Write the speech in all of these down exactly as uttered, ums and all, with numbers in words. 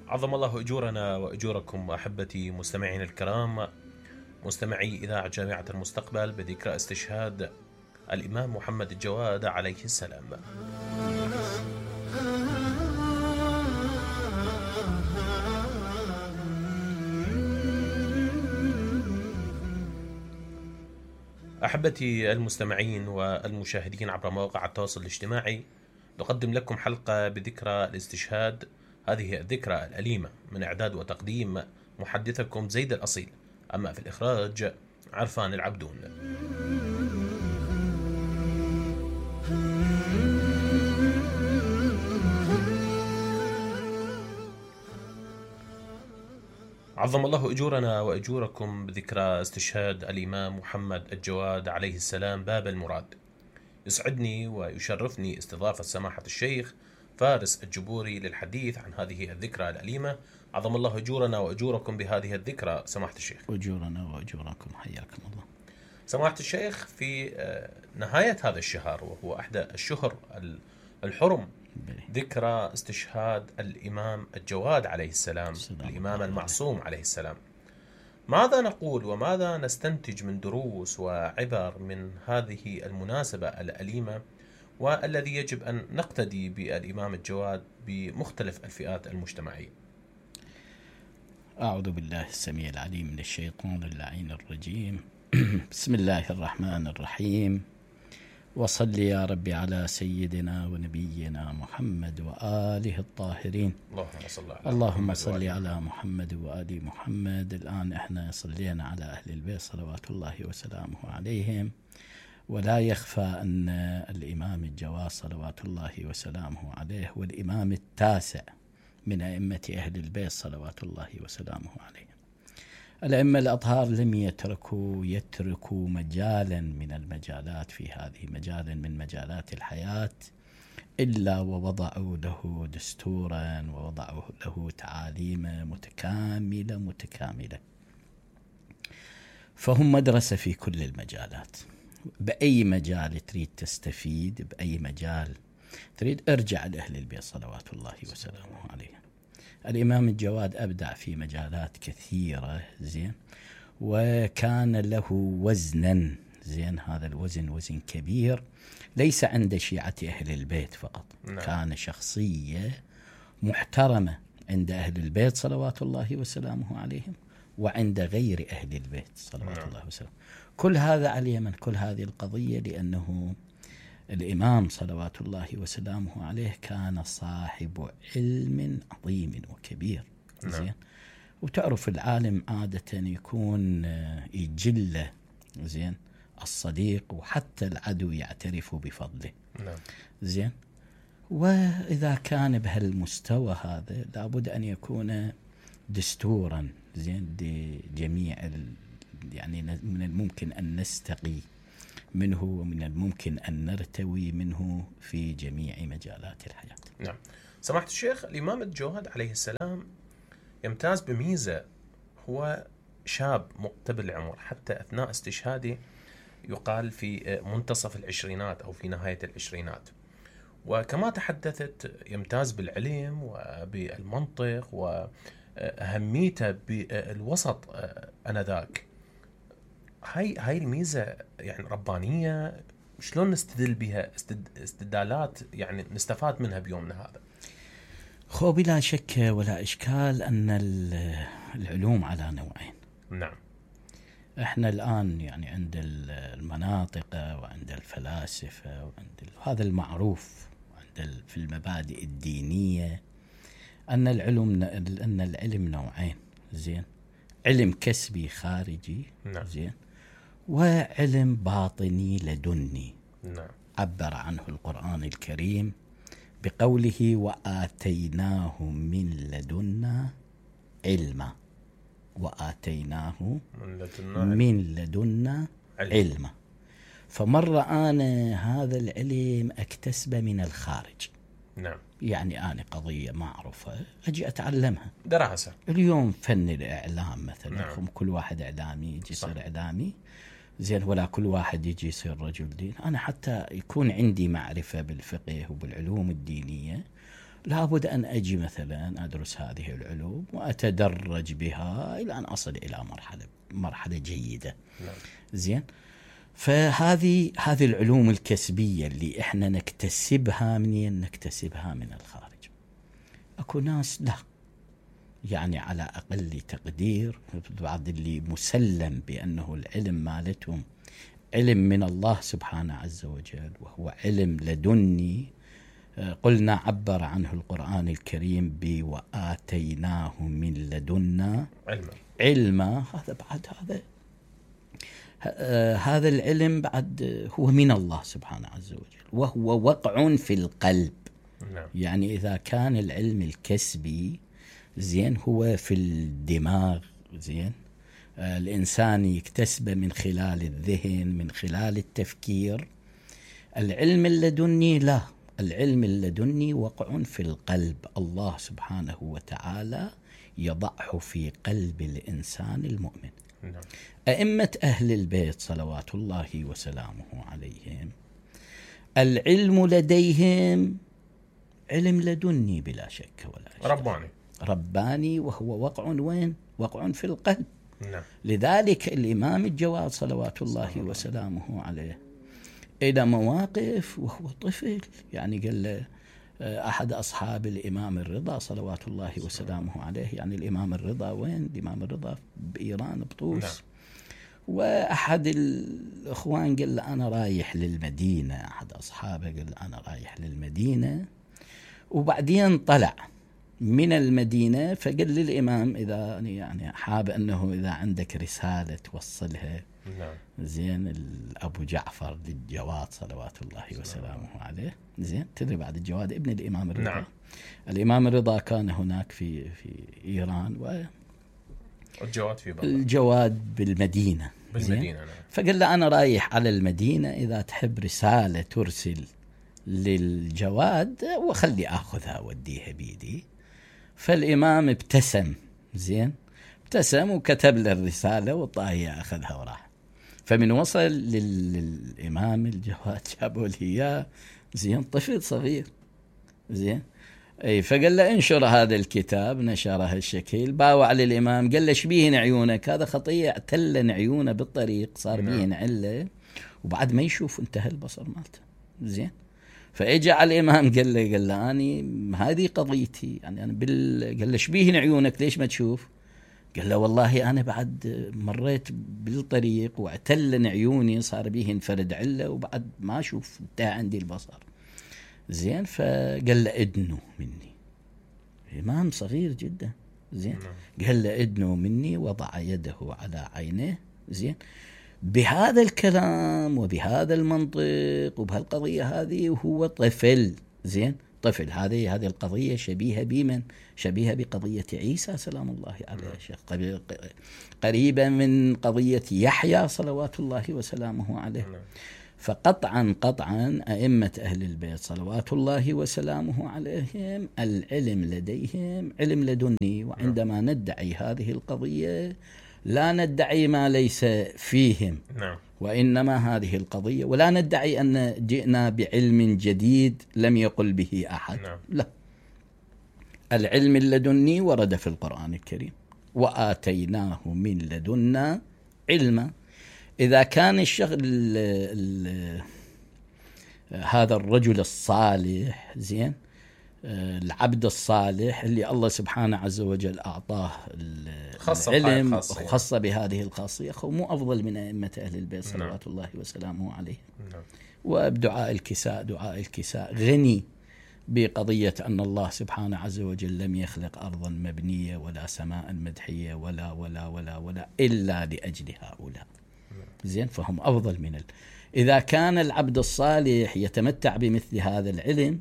عظم الله أجورنا وأجوركم أحبتي مستمعين الكرام، مستمعي إذاعة جامعة المستقبل بذكرى استشهاد الإمام محمد الجواد عليه السلام. أحبتي المستمعين والمشاهدين عبر مواقع التواصل الاجتماعي، نقدم لكم حلقة بذكرى الاستشهاد، هذه الذكرى الأليمة، من إعداد وتقديم محدثكم زيد الأصيل، أما في الإخراج عرفان العبدون. عظم الله أجورنا وأجوركم بذكرى استشهاد الإمام محمد الجواد عليه السلام باب المراد. يسعدني ويشرفني استضافة سماحة الشيخ فارس الجبوري للحديث عن هذه الذكرى الأليمة. عظم الله أجورنا وأجوركم بهذه الذكرى سماحة الشيخ. أجورنا وأجوركم، حياكم الله. سماحة الشيخ، في نهاية هذا الشهر وهو أحد الشهر الحرم، ذكرى استشهاد الإمام الجواد عليه السلام، الإمام المعصوم عليه السلام، ماذا نقول وماذا نستنتج من دروس وعبر من هذه المناسبة الأليمة، والذي يجب أن نقتدي بالإمام الجواد بمختلف الفئات المجتمعية؟ أعوذ بالله السميع العليم من الشيطان اللعين الرجيم. بسم الله الرحمن الرحيم، وصل يا ربي على سيدنا ونبينا محمد وآله الطاهرين. اللهم صل على اللهم صل على محمد وآل محمد. الآن احنا صلينا على أهل البيت صلوات الله وسلامه عليهم، ولا يخفى أن الإمام الجواد صلوات الله وسلامه عليه والإمام التاسع من أئمة أهل البيت صلوات الله وسلامه عليه. الأئمة الأطهار لم يتركوا يتركوا مجالا من المجالات في هذه مجالا من مجالات الحياة إلا ووضعوا له دستورا ووضعوا له تعاليم متكاملة متكاملة. فهم مدرسة في كل المجالات. بأي مجال تريد تستفيد، بأي مجال تريد، ارجع لأهل البيت صلوات الله وسلامه عليه. الإمام الجواد أبدع في مجالات كثيرة، زين، وكان له وزنا، زين، هذا الوزن وزن كبير ليس عند شيعة أهل البيت فقط. نعم. كان شخصية محترمة عند أهل البيت صلوات الله وسلامه عليهم وعند غير أهل البيت صلوات نعم. الله وسلامه. كل هذا على اليمن، كل هذه القضية لأنه الإمام صلوات الله وسلامه عليه كان صاحب علم عظيم وكبير. نعم. زين، وتعرف العالم عادة يكون يجله، زين، الصديق وحتى العدو يعترف بفضله. نعم. زين، وإذا كان بهالمستوى هذا لابد أن يكون دستورا، زين، لجميع يعني من الممكن أن نستقي منه ومن الممكن أن نرتوي منه في جميع مجالات الحياة. نعم. سماحة الشيخ، الإمام الجواد عليه السلام يمتاز بميزة، هو شاب مقتبل العمر، حتى أثناء استشهاده يقال في منتصف العشرينات أو في نهاية العشرينات، وكما تحدثت يمتاز بالعلم وبالمنطق وأهميته بالوسط أنذاك. هاي هاي الميزة يعني ربانية، شلون نستدل بها استدلالات يعني نستفاد منها بيومنا هذا؟ خو بلا شك ولا إشكال أن العلوم على نوعين. نعم. احنا الآن يعني عند المناطق وعند الفلاسفة وعند هذا المعروف، وعند في المبادئ الدينية أن العلم أن العلم نوعين، زين، علم كسبي خارجي. نعم. زين، وعلم باطني لدني. نعم. عبر عنه القرآن الكريم بقوله وآتيناه من لدنا علما، وآتيناه من لدنا, من لدنا علما. فمرة أنا هذا العلم أكتسبه من الخارج. نعم. يعني أنا قضية معروفة أجي أتعلمها دراسة. اليوم فن الإعلام مثلا. نعم. كل واحد إعلامي يجي يصير إعلامي، زين، ولا كل واحد يجي يصير رجل دين. أنا حتى يكون عندي معرفة بالفقه وبالعلوم الدينية لابد أن أجي مثلا أدرس هذه العلوم وأتدرج بها إلى أن أصل إلى مرحلة مرحلة جيدة. نعم. زين. فهذه هذه العلوم الكسبية اللي إحنا نكتسبها منين؟ نكتسبها من الخارج. أكو ناس لا، يعني على أقل تقدير بعض اللي مسلم بأنه العلم مالتهم علم من الله سبحانه عز وجل، وهو علم لدني. قلنا عبر عنه القرآن الكريم بوآتيناه من لدنا علما. علما. هذا بعد هذا هذا العلم بعد هو من الله سبحانه عز وجل، وهو وقع في القلب. نعم. يعني إذا كان العلم الكسبي زين هو في الدماغ، زين الإنسان يكتسبه من خلال الذهن، من خلال التفكير. العلم اللدني لا، العلم اللدني وقع في القلب، الله سبحانه وتعالى يضعه في قلب الإنسان المؤمن. نعم. أئمة أهل البيت صلوات الله وسلامه عليهم العلم لديهم علم لدني بلا شك ولا شك، رباني رباني، وهو وقع وين؟ وقع في القلب. نعم. لذلك الإمام الجواد صلوات الله وسلامه عليه إلى مواقف وهو طفل، يعني قال له أحد أصحاب الإمام الرضا صلوات الله وسلامه عليه، يعني الإمام الرضا وين؟ الإمام الرضا بإيران بطوس. نعم. وأحد الأخوان قال له أنا رايح للمدينة، أحد أصحابه قال له أنا رايح للمدينة، وبعدين طلع من المدينة فقال للإمام إذا يعني حاب أنه إذا عندك رسالة توصلها. نعم. زين أبو جعفر للجواد صلوات الله وسلامه عليه. زين تدري بعد الجواد ابن الإمام الرضا. نعم. الإمام الرضا كان هناك في في إيران، والجواد في بغداد، الجواد بالمدينة. بالمدينة. نعم. فقال له أنا رايح على المدينة، إذا تحب رسالة ترسل للجواد وخلي أخذها وديها بيدي. فالإمام ابتسم، زين ابتسم وكتب له الرسالة وطاهي أخذها وراح. فمن وصل للإمام الجواد جابوا له إياه، زين طفل صغير، زين أي فقال له انشر هذا الكتاب، نشره الشكل، باوع للإمام قال له شبيهن عيونك، هذا خطية اعتلن عيونه بالطريق صار بيهن عله وبعد ما يشوف انتهى البصر مالته. زين فاجى على الإمام قال له قال له أني هذه قضيتي، يعني أنا بال قال له شبيهن عيونك ليش ما تشوف؟ قال له والله أنا بعد مريت بالطريق واعتلن عيوني صار بيهن فرد عله وبعد ما أشوف انتهى عندي البصر. زين فقال له ادنوا مني، إمام صغير جدا. زين قال له ادنوا مني، وضع يده على عينه. زين بهذا الكلام وبهذا المنطق وبهالقضية هذه وهو طفل. زين طفل. هذه هذه القضية شبيهة بمن؟ شبيهة بقضية عيسى سلام الله عليه، شيخ قريبة من قضية يحيى صلوات الله وسلامه عليه. فقطعا قطعا أئمة أهل البيت صلوات الله وسلامه عليهم العلم لديهم علم لدني. وعندما ندعي هذه القضية لا ندعي ما ليس فيهم، وإنما هذه القضية، ولا ندعي أن جئنا بعلم جديد لم يقل به أحد. لا، العلم اللدني ورد في القرآن الكريم وآتيناه من لدنا علما. إذا كان الشغل هذا الرجل الصالح، زين العبد الصالح اللي الله سبحانه عز وجل أعطاه العلم وخص بهذه الخاصية، مو أفضل من أئمة أهل البيت صلوات الله وسلامه عليه. وبدعاء الكساء، دعاء الكساء غني بقضية أن الله سبحانه عز وجل لم يخلق أرضا مبنية ولا سماء مدحية ولا ولا ولا ولا إلا لأجل هؤلاء. زين فهم أفضل من ال... إذا كان العبد الصالح يتمتع بمثل هذا العلم،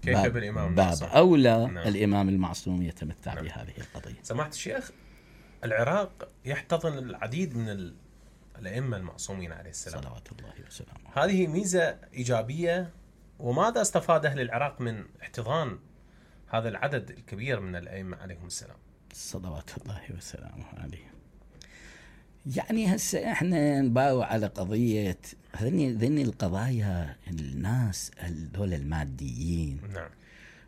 كيف باب, بالإمام باب المعصوم؟ أولى نعم. الإمام المعصوم يتمتع نعم. بهذه القضية. سماحة الشيخ، العراق يحتضن العديد من ال... الأئمة المعصومين عليه السلام صلوات الله وسلامه. هذه ميزة إيجابية، وماذا استفاد أهل العراق من احتضان هذا العدد الكبير من الأئمة عليهم السلام؟ صلوات الله وسلامه عليه. يعني هسه احنا نباوع على قضية ذني ذني القضايا، الناس هذول الماديين نعم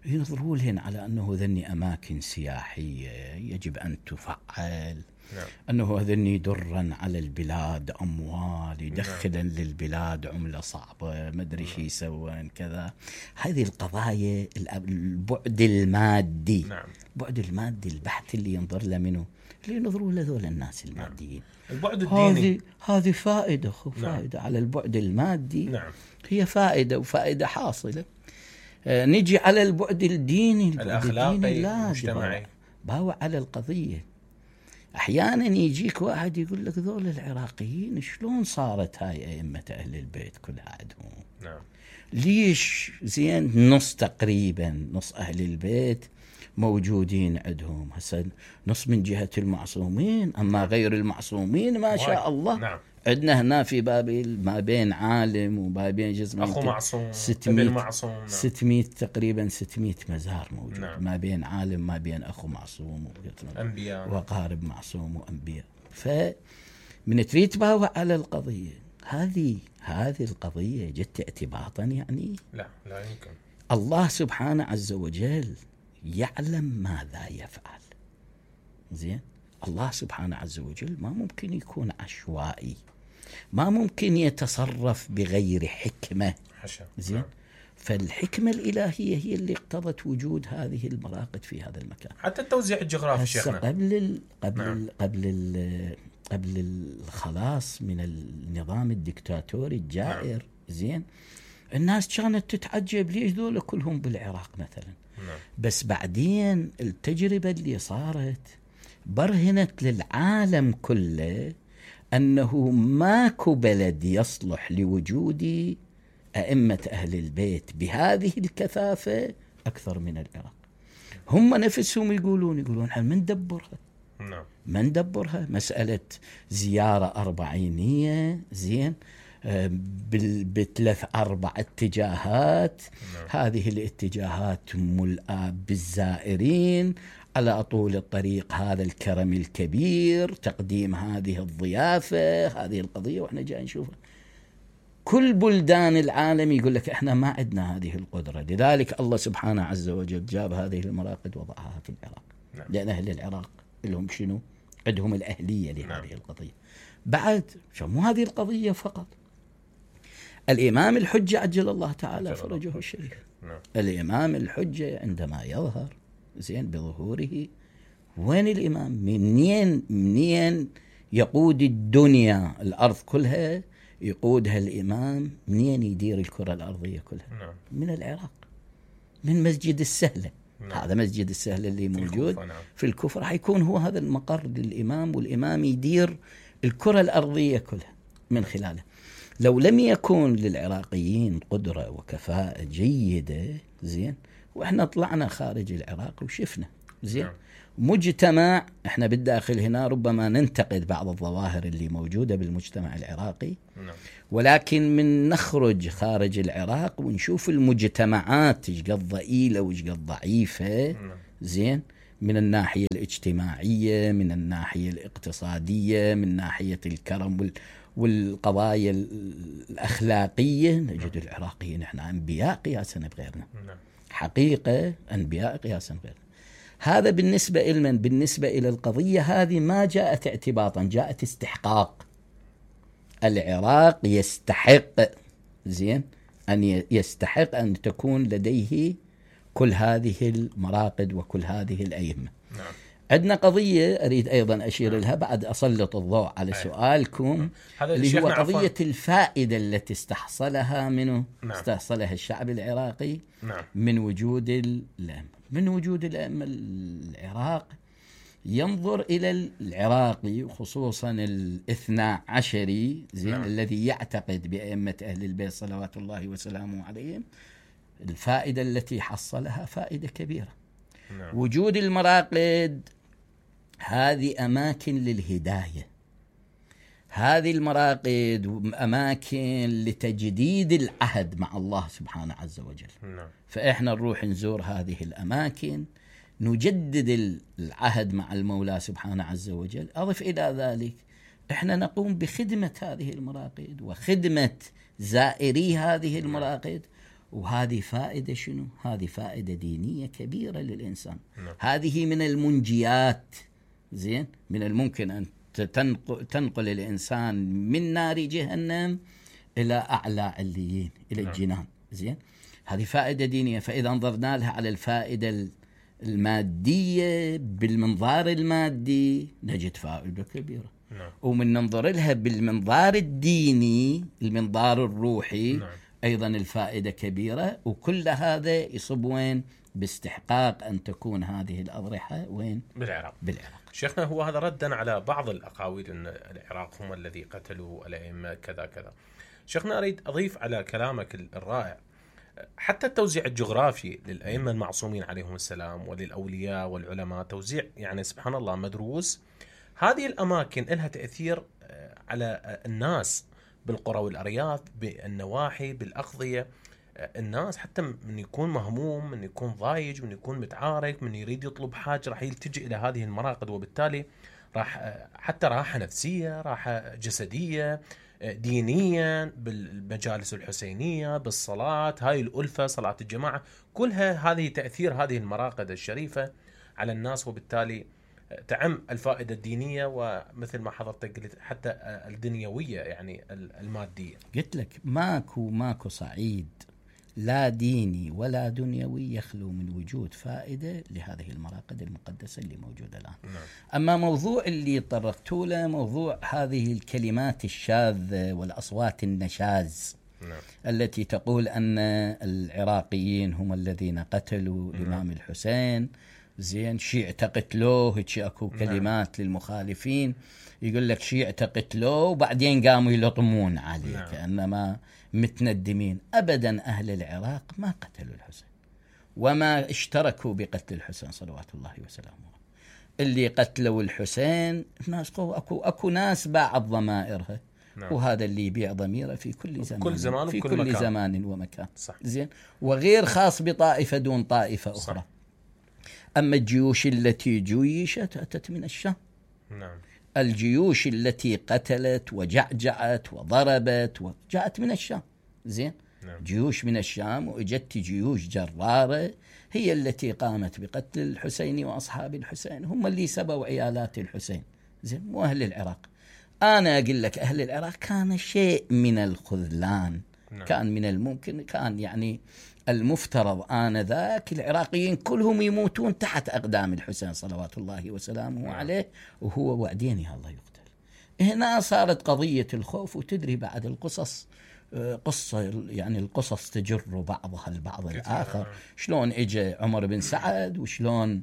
ينظروا لهن على أنه ذني أماكن سياحية يجب أن تفعل، نعم. أنه ذني درا على البلاد أموال يدخلا نعم. للبلاد عملة صعبة ما أدري شي يسوون كذا. هذه القضايا البعد المادي، نعم. البعد المادي البحت اللي ينظر له منه، اللي ينظروا له ذول الناس الماديين. نعم. البعد الديني هذه هذه فائدة خو نعم. فائدة على البعد المادي. نعم. هي فائدة وفائدة حاصلة. آه نجي على البعد الديني، البعد الأخلاقي الديني لا المجتمعي، باوع على القضية. أحيانا يجيك واحد يقول لك ذول العراقيين شلون صارت هاي أئمة أهل البيت كلها عندهم؟ نعم. ليش زين نص تقريبا نص أهل البيت موجودين عندهم، هسه نص من جهة المعصومين، أما غير المعصومين ما شاء الله. نعم. عندنا هنا في بابل ما بين عالم وما بين جزء أخو معصوم، ستمائة ابن معصوم. نعم. ستمائة تقريبا ستمائة مزار موجود. نعم. ما بين عالم ما بين أخو معصوم أنبياء وقارب معصوم وأنبياء. فمن تريد تباوع على القضية هذه، هذه القضية جت اعتباطا يعني لا لا يمكن. الله سبحانه عز وجل يعلم ماذا يفعل. زين، الله سبحانه عز وجل ما ممكن يكون عشوائي، ما ممكن يتصرف بغير حكمة. حشا. زين. نعم. فالحكمة الإلهية هي اللي اقتضت وجود هذه المراقد في هذا المكان. حتى التوزيع الجغرافي شيخنا قبل ال قبل نعم. ال قبل ال قبل الخلاص من النظام الدكتاتوري الجائر. نعم. زين، الناس كانت تتعجب ليش ذول كلهم بالعراق مثلا. نعم. بس بعدين التجربة اللي صارت برهنت للعالم كله أنه ماكو بلد يصلح لوجود أئمة أهل البيت بهذه الكثافة أكثر من العراق. هم نفسهم يقولون يقولون احنا من ندبرها. نعم. ما ندبرها. مسألة زيارة أربعينية زين بثلاث أربع اتجاهات. نعم. هذه الاتجاهات ملأة بالزائرين على طول الطريق، هذا الكرم الكبير، تقديم هذه الضيافة، هذه القضية، وإحنا جاي نشوفها. كل بلدان العالم يقول لك إحنا ما عندنا هذه القدرة، لذلك الله سبحانه عز وجل جاب هذه المراقد وضعها في العراق. نعم. لأن أهل العراق لهم شنو؟ عندهم الأهلية لهذه نعم. القضية. بعد شو مو هذه القضية فقط، الإمام الحجة عجل الله تعالى فرجه الشريف. نعم. الإمام الحجة عندما يظهر زين بظهوره، وين الإمام؟ منين منين يقود الدنيا الأرض كلها؟ يقودها الإمام منين يدير الكرة الأرضية كلها؟ نعم. من العراق، من مسجد السهلة. نعم. هذا مسجد السهلة اللي موجود في, نعم. في الكوفة، راح يكون هو هذا المقر للإمام، والإمام يدير الكرة الأرضية كلها من خلاله. لو لم يكن للعراقيين قدرة وكفاءة جيدة زين، وإحنا طلعنا خارج العراق وشفنا زين. نعم. مجتمع احنا بالداخل هنا ربما ننتقد بعض الظواهر اللي موجودة بالمجتمع العراقي. نعم. ولكن من نخرج خارج العراق ونشوف المجتمعات ايش قد ضئيلة وايش قد ضعيفة. نعم. زين، من الناحية الاجتماعية، من الناحية الاقتصادية، من ناحية الكرم وال والقضايا الأخلاقية، نجد نعم. العراقيين احنا أنبياء قياسا بغيرنا. نعم. حقيقة أنبياء قياسا بغيرنا. هذا بالنسبة إلمن؟ بالنسبة إلى القضية هذه ما جاءت اعتباطا، جاءت استحقاق. العراق يستحق زين أن يستحق أن تكون لديه كل هذه المراقد وكل هذه الأئمة. نعم. عندنا قضية أريد أيضا أشير نعم. لها بعد أسلط الضوء على أيه. سؤالكم اللي هو قضية عفوا. الفائدة التي استحصلها منه نعم. استحصلها الشعب العراقي نعم. من وجود الأئمة. من وجود الأئمة العراق ينظر إلى العراقي خصوصا الاثنى عشري زين نعم. الذي يعتقد بأئمة أهل البيت صلوات الله وسلامه عليهم، الفائدة التي حصلها فائدة كبيرة. نعم. وجود المراقد هذه أماكن للهداية، هذه المراقد أماكن لتجديد العهد مع الله سبحانه عز وجل. نعم. فإحنا نروح نزور هذه الأماكن، نجدد العهد مع المولى سبحانه عز وجل. أضف إلى ذلك إحنا نقوم بخدمة هذه المراقد وخدمة زائري هذه المراقد، وهذه فائدة شنو؟ هذه فائدة دينية كبيرة للإنسان. نعم. هذه من المنجيات، زين، من الممكن أن تنقل, تنقل الإنسان من نار جهنم إلى أعلى عليين، إلى نعم. الجنان. زين، هذه فائدة دينية. فإذا انظرنا لها على الفائدة المادية بالمنظار المادي نجد فائدة كبيرة. نعم. ومن ننظر لها بالمنظار الديني، المنظار الروحي، نعم. أيضا الفائدة كبيرة. وكل هذا يصب وين؟ باستحقاق أن تكون هذه الأضرحة وين؟ بالعراق. بالعراق. شيخنا، هو هذا ردا على بعض الأقاويل أن العراق هم الذي قتلوا الأئمة كذا كذا. شيخنا، أريد أضيف على كلامك الرائع حتى التوزيع الجغرافي للأئمة المعصومين عليهم السلام وللأولياء والعلماء، توزيع يعني سبحان الله مدروس. هذه الأماكن لها تأثير على الناس بالقرى والأرياف، بالنواحي، بالأقضية. الناس حتى من يكون مهموم، من يكون ضايج، من يكون متعارك، من يريد يطلب حاجة راح يلتجئ إلى هذه المراقد، وبالتالي راح حتى راحة نفسية، راحة جسدية، دينيا، بالمجالس الحسينية، بالصلاة، هاي الألفة، صلاة الجماعة، كلها هذه تأثير هذه المراقد الشريفة على الناس، وبالتالي تعم الفائدة الدينية ومثل ما حضرتك قلت حتى الدنيوية، يعني المادية. قلت لك ماكو ماكو صعيد لا ديني ولا دنيوي يخلو من وجود فائدة لهذه المراقد المقدسة اللي موجودة الآن. نعم. أما موضوع اللي طرقتوا له، موضوع هذه الكلمات الشاذة والأصوات النشاز، نعم. التي تقول أن العراقيين هم الذين قتلوا نعم. الإمام الحسين، زين، شيعة قتلوه، هيك اكو كلمات نعم. للمخالفين يقول لك شيعة قتلوه وبعدين قاموا يلطمون عليه نعم. كأنما متندمين. أبدا أهل العراق ما قتلوا الحسين وما اشتركوا بقتل الحسين صلوات الله وسلامه. اللي قتلوا الحسين ناس قوة، أكو, أكو ناس باعت ضمائرها نعم. وهذا اللي يبيع ضميره في كل زمان, كل زمان في كل كل مكان. زمان ومكان. صح. زين، وغير خاص بطائفة دون طائفة أخرى. صح. أما الجيوش التي جيشت أتت من الشام. نعم. الجيوش التي قتلت وجعجعت وضربت جاءت من الشام. زين. نعم. جيوش من الشام، وإجت جيوش جرارة هي التي قامت بقتل الحسين وأصحاب الحسين، هم اللي سبوا عيالات الحسين. زين، مو أهل العراق. أنا أقول لك أهل العراق كان شيء من الخذلان. نعم. كان من الممكن، كان يعني المفترض آنذاك العراقيين كلهم يموتون تحت أقدام الحسين صلوات الله وسلامه نعم. عليه، وهو وعدين الله يقتل. هنا صارت قضية الخوف. وتدري بعد القصص قصة، يعني القصص تجر بعضها البعض الآخر. شلون إجا عمر بن سعد وشلون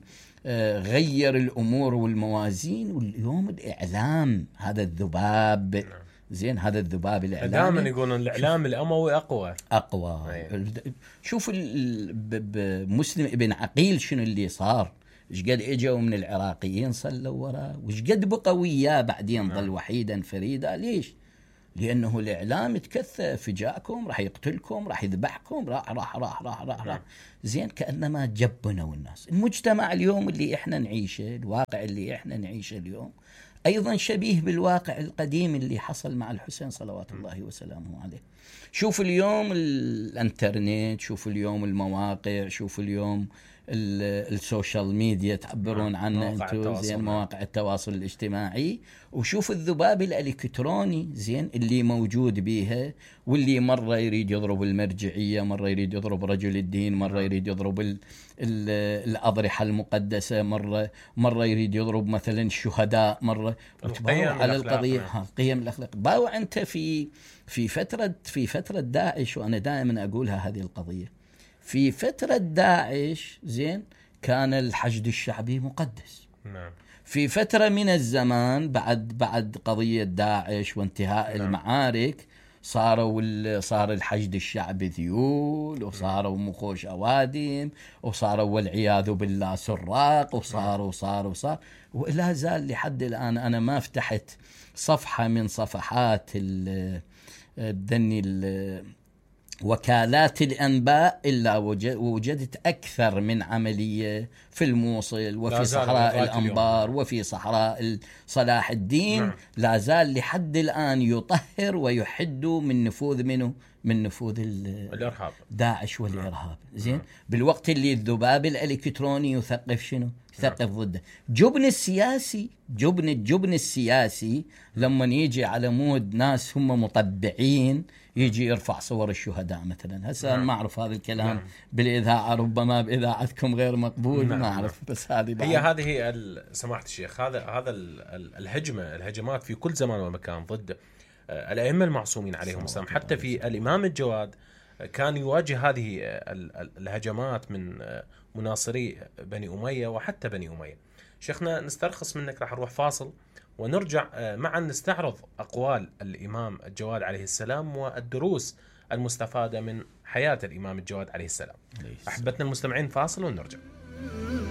غير الأمور والموازين. واليوم الإعلام هذا الذباب نعم. زين، هذا الذباب الإعلامي دائما يقولون الإعلام الأموي أقوى أقوى. أيه. شوف مسلم ابن عقيل شنو اللي صار، إيش قد إجوا من العراقيين صلوا وراه، وإيش قد بقوا وياه بعدين ظل وحيدا فريدا. ليش؟ لأنه الإعلام تكثف، جاءكم راح يقتلكم، راح يذبحكم، راح راح راح راح راح, راح. زين، كأنما جبنوا الناس. المجتمع اليوم اللي إحنا نعيشه، الواقع اللي إحنا نعيشه اليوم أيضا شبيه بالواقع القديم اللي حصل مع الحسين صلوات الله وسلامه عليه. شوف اليوم الانترنت، شوف اليوم المواقع، شوف اليوم السوشيال ميديا تعبرون عنه انتم، زين، مواقع التواصل الاجتماعي. وشوف الذباب الالكتروني، زين، اللي موجود بيها، واللي مره يريد يضرب المرجعيه، مره يريد يضرب رجل الدين، مره يريد يضرب ال ال الاضرحه المقدسه، مره مره يريد يضرب مثلا الشهداء، مره تباوع على القضيه، القيم الاخلاق. باوع انت في في فتره في فتره داعش، وانا دائما اقولها هذه القضيه. في فترة داعش، زين، كان الحشد الشعبي مقدس. نعم. في فترة من الزمان بعد بعد قضية داعش وانتهاء نعم. المعارك، صاروا صار الحشد الشعبي ذيول، وصاروا مخوش أوادم، وصاروا والعياذ بالله سراق، وصاروا صاروا صار ولا زال لحد الآن. أنا ما فتحت صفحة من صفحات الدني وكالات الأنباء إلا وجدت أكثر من عملية في الموصل، وفي صحراء الأنبار، وفي صحراء صلاح الدين. نعم. لا زال لحد الآن يطهر ويحد من نفوذ منه من نفوذ الارهاب داعش والارهاب. زين، بالوقت اللي الذباب الالكتروني يثقف شنو؟ يثقف ضده. جبن السياسي، جبن الجبن السياسي لما يجي على مود ناس هم مطبعين يجي يرفع صور الشهداء مثلا. هسه ما اعرف هذا الكلام نعم. بالاذاعه ربما باذاعتكم غير مقبول نعم. ما اعرف، بس هذه هي هذه سماحه الشيخ، هذا هذا الهجمه الهجمات في كل زمان ومكان ضد الائمه المعصومين عليهم السلام. حتى في الامام الجواد كان يواجه هذه الهجمات من مناصري بني اميه وحتى بني اميه. شيخنا نسترخص منك، راح نروح فاصل ونرجع معا نستعرض أقوال الإمام الجواد عليه السلام والدروس المستفادة من حياة الإمام الجواد عليه السلام. أحبتنا المستمعين، فاصل ونرجع.